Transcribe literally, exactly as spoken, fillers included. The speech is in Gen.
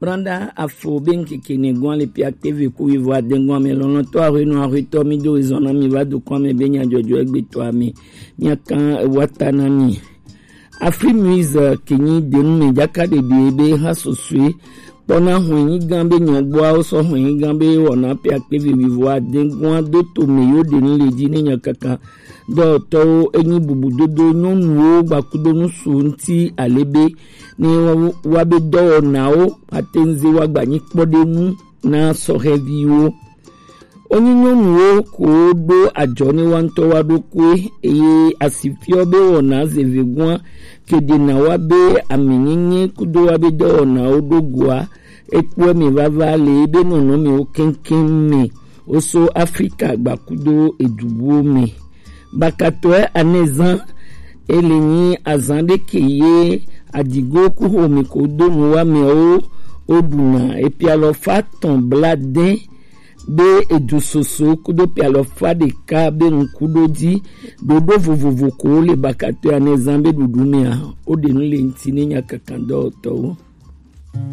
Branda afo be ŋkeke ne gɔn le pia kpeve ku wivo aden gɔn me lɔlɔtɔ ahwenu ahwetɔ mi do ezɔn na mi va do kɔn me be nya jɔjɔ egbe to ame. Mia kan wata na mi. Afri Muiz, eh, ke nyi denu me jaka ɖeɖe be ha sosue kpɔna hwɛnyigan be nyɔgbɔawo sɔ hwɛnyigan be wɔna pe akpeve wivo aden gɔn do to me yo denu le ji ne nya kaka dɔtɔwo enyi bubudodo nyɔnuwo gbakudo nusu ŋti ale be ne wa be dɔwɔnawo ate ŋze wa gbanyi kpɔɖeŋu na sɔhɛviwo. Wonyi nyɔnuwo ko ɖo ajɔ ne wa ŋutɔ wa ɖokui eye asifiɔ be wɔna zevegua ke ɖena wa be aminyenye kudo wa be dɔwɔnawo ɖo goa ekpɔe me vava le ebe nɔnɔmewo keŋkeŋ me woso Afrika gbakudo edubuwo me. Bakatɔe anezan ele nyi azan ɖe ke ye adigo ku xome ko do nu wa mewo wo ɖuna epialɔ fa tɔn bla dɛn be edu soso kudo pialɔ fa ɖeka be ŋku ɖo dzi ɖoɖo vovovo ko le bakatɔe anezan be ɖuɖu mea wo ɖe nu le ŋti ne nya kankan dɔwɔtɔwo.